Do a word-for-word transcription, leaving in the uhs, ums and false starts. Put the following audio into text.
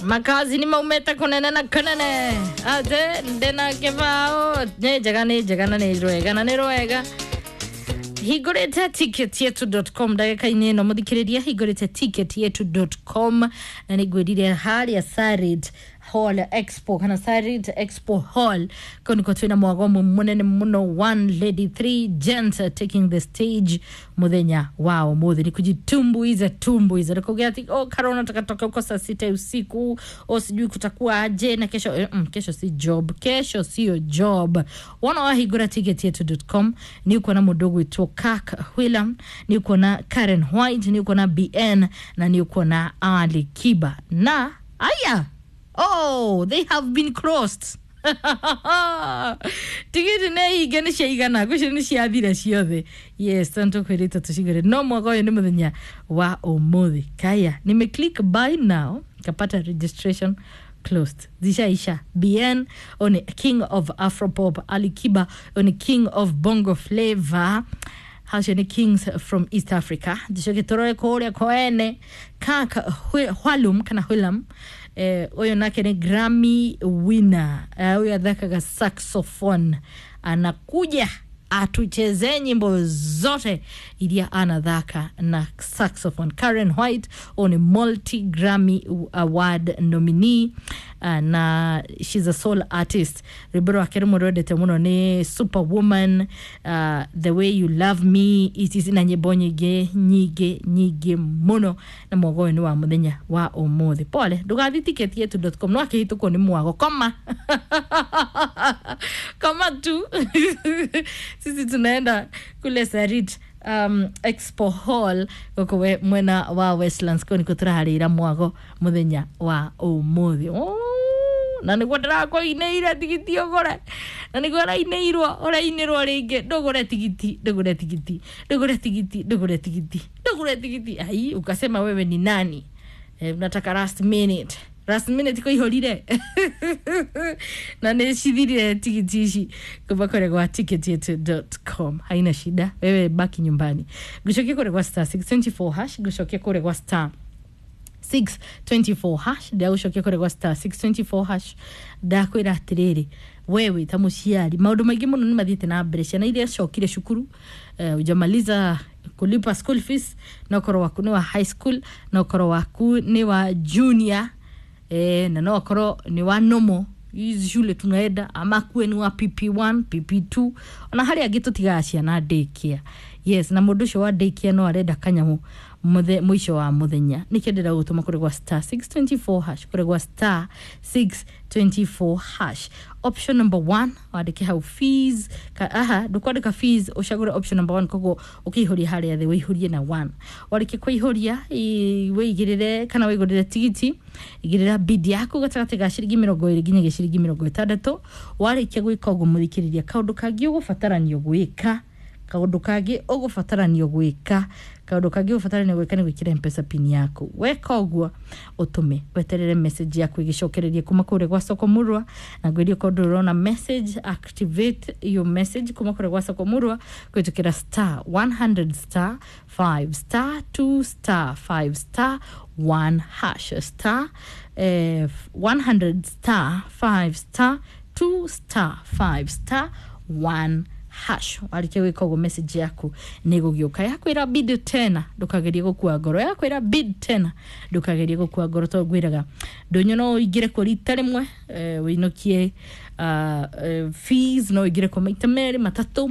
Makazi nĩ maumĩte kũnene na kũnene atĩ ndĩna kĩbaũ nĩ njega nĩ njega na nĩ rwega na nĩ rwega. Hingũrĩte ticket yetu dot com ndagĩka-inĩ ĩno, mũthikĩrĩria, hingũrĩte ticket yetu dot com na nĩ ngwĩrire harĩa Sarit Hall Expo kana Sarit Expo Hall kau nĩkuo twĩna mwago ũmwe mũnene mũno, one lady, three gents taking the stage mũthenya wa ũmũthĩ. Nĩ kujitumbuiza tumbuiza nĩkugia ati oh, Karona takatoka huko saa sita usiku, oh, sijui kutakuwa aje na kesho. eh, mm, kesho si job, kesho sio job. Wona wahingũra ticket yetu dot com nĩ ũkuona mũndũ ũgwĩtwo Kak Whelan, nĩ ũkuona Karen White, nĩ ũkuona B N na nĩ ũkuona Ali Kiba na aya. Oh, they have been crossed. Tigiti nä hinge nä ciaigana ngwĩciria nä ciathira ciothe. Yes, tondũ tũkwĩrĩte tũcigũre no mwaka ũyũ nĩ mũthenya wa ũmũthĩ. Kaya nimeclick buy now, kapata registration closed, zishaisha. B N one king of Afropop, Ali Kiba one king of Bongo Flavor, hacio nĩ kings from East Africa. Njicoke tũrore kũrĩa koene Kaka Hwalum kana Hwilam, eh, ũyũ nake nĩ Grammy winner. Eh, huyu athakaga saxophone, anakuja atuchezee nyimbo zote iria anathaka na saxophone. Karen White huyu ni multi Grammy Award nominee, uh, na she's a soul artist. Rwĩmbo rwake rũmwe rwendete mũno nĩ Superwoman, uh, The Way You Love Me et cetera na nyĩmbo nyingĩ nyingĩ nyingĩ mũno. Na mwago ũyũ nĩ wa mũthenya wa ũmũthĩ. Pole ndũgathi ticket yetu dot com no akĩhĩtũkwo nĩ mwago koma koma tu. Sisi tunaenda kule Sarit um, Expo Hall gũkũ we- mwena wa Westlands, kũu nĩkuo tũraharĩra mwago mũthenya wa ũmũthĩ. Oh, na nĩguo ndĩrakũinĩire tigiti ũgũre na nĩguo ũrainĩirwo ũrainĩrwo rĩngĩ ndũgũre tigiti, ndũgũre tigiti, ndũgũre tigiti, ndũgũre tigiti, ndũgũre tigiti. Ai, ukasema wewe ni nani? Eh, unataka last minute, last minute kũihũrire na nä cithirire tigiti ici kuma kũrĩa gwa ticket yetu dot com. Haina shida, wewe baki nyumbani. Ngũcokia kũrĩa gwa star six twenty-four hash, ngũcokia kũrĩa gwa star six twenty-four hash, ndagũcokia kũrĩa gwa star six twenty-four hash. Ndakwĩra atĩrĩrĩ, wewe ta mũciari, maũndũ maingĩ mũno nĩ mathiĩte na mbere. Ciana iria cokire cukuru, uh, ujamaliza kulipa school fees, no korwo waku nĩ wa high school, no korwo waku nĩ wa junior, eh, na no akorwo nĩ wa normal hizi shule tunaenda, ama kuwe ni wa P P one, P P two, ona harĩa angĩ tũtigaga ciana daycare. Yes, na mũndũ ũcio wa daycare no arenda kanyamũ muthe mũico wa mũthenya. Nĩkĩo ndĩrenda gũtũma kũrĩ gwa star six twenty-four hash, kũrĩ gwa star six twenty-four hash, option number one, wandĩke hau fees ka, aha, ndũkwandĩka fees, ũcagũre option number one. Koguo ũkĩihũria harĩa thĩ wĩihũrie na one. Warĩkia kũihũria, ĩ- wĩigĩrĩre kana wĩgũrĩre tigiti, igĩrĩra bid yaku gatagatĩ ga ciringi mĩrongo ĩrĩ nginyagia ciringi mĩrongo ĩtandatũ. Warĩkia gwĩka ũguo, mũthikĩrĩria, kaũndũ kangĩ ũgũbataranio gwĩka kaũndũ kangĩ ũgũbataranio gwĩka kaũndũ kangĩ ũgũbataranio gwĩka nĩ gwĩkĩra Mpesa pin yaku. Weka ũguo, ũtũme weterere message yaku ĩgĩcokererie kuma kũrĩa gwa Soko Murwa. Na ngwĩrie korwo ndũrona message, activate your message kuma kũrĩa gwa Soko Murwa kũhĩtũkĩra star one hundred star five star two star five star one hash, star eh, one hundred star five star two star five star one hash. Warĩkia gwĩka ũguo, message yaku nĩ gũgĩũka yakwĩra bid tena. Ndũkagerie gũkua ngoro, yakwĩra bid tena, ndũkagerie gũkua ngoro, tondũ ngwĩraga ndũnyũ no ũingĩre kuo rita rĩmwe, eh, wĩinũkie uh, eh, fees, no ũingĩre kuo maita merĩ matatũ.